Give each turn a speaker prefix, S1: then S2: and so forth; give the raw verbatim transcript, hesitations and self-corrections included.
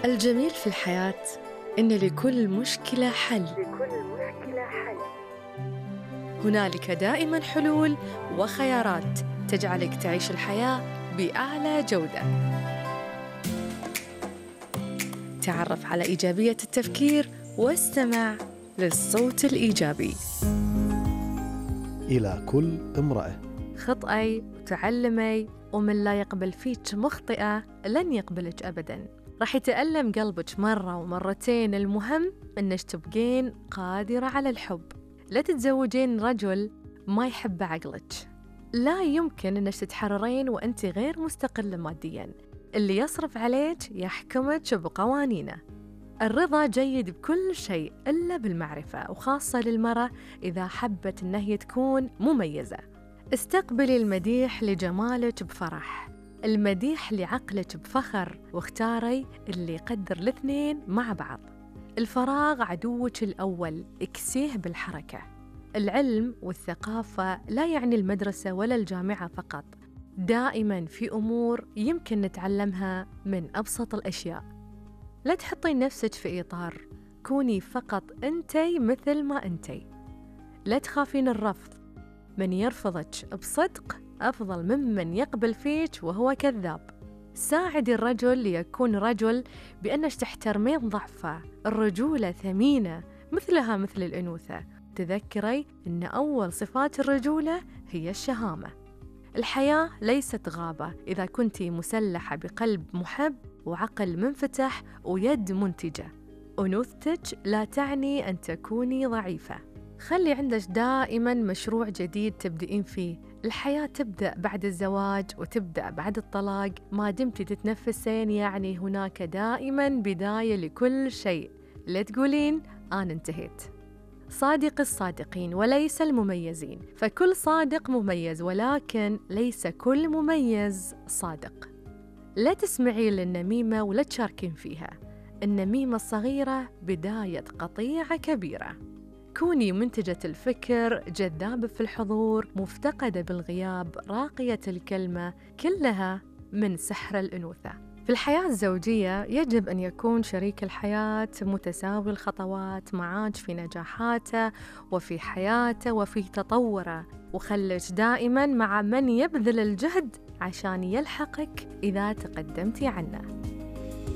S1: الجميل في الحياة إن لكل مشكلة حل.
S2: لكل مشكلة حل.
S1: هنالك دائماً حلول وخيارات تجعلك تعيش الحياة بأعلى جودة. تعرف على إيجابية التفكير واستمع للصوت الإيجابي.
S3: إلى كل امرأة،
S1: خطئي وتعلمي، ومن لا يقبل فيك مخطئة لن يقبلك أبداً. راح يتألم قلبك مرة ومرتين، المهم إنك تبقين قادرة على الحب. لا تتزوجين رجل ما يحب عقلك. لا يمكن إنك تتحررين وأنت غير مستقلة مادياً. اللي يصرف عليك يحكمك بقوانينه. الرضا جيد بكل شيء إلا بالمعرفة، وخاصة للمرأة إذا حبت إنها هي تكون مميزة. استقبلي المديح لجمالك بفرح، المديح لعقلك بفخر، واختاري اللي يقدر الاثنين مع بعض. الفراغ عدوك الأول، اكسيه بالحركة. العلم والثقافة لا يعني المدرسة ولا الجامعة فقط، دائماً في أمور يمكن نتعلمها من أبسط الأشياء. لا تحطين نفسك في إطار، كوني فقط أنتي مثل ما أنتي. لا تخافين الرفض، من يرفضك بصدق أفضل ممن يقبل فيك وهو كذاب. ساعدي الرجل ليكون رجل بأنك تحترمين ضعفه. الرجولة ثمينة مثلها مثل الأنوثة. تذكري أن أول صفات الرجولة هي الشهامة. الحياة ليست غابة إذا كنتي مسلحة بقلب محب وعقل منفتح ويد منتجة. أنوثتك لا تعني أن تكوني ضعيفة. خلي عندك دائماً مشروع جديد تبدأين فيه. الحياة تبدأ بعد الزواج وتبدأ بعد الطلاق. ما دمتي تتنفسين يعني هناك دائماً بداية لكل شيء. لا تقولين أنا انتهيت. صادق الصادقين وليس المميزين، فكل صادق مميز ولكن ليس كل مميز صادق. لا تسمعي للنميمة ولا تشاركين فيها. النميمة الصغيرة بداية قطيعة كبيرة. كوني منتجة الفكر، جذابة في الحضور، مفتقدة بالغياب، راقية الكلمة، كلها من سحر الأنوثة. في الحياة الزوجية يجب أن يكون شريك الحياة متساوي الخطوات معاك في نجاحاته وفي حياته وفي تطوره، وخليك دائماً مع من يبذل الجهد عشان يلحقك إذا تقدمتي عنه.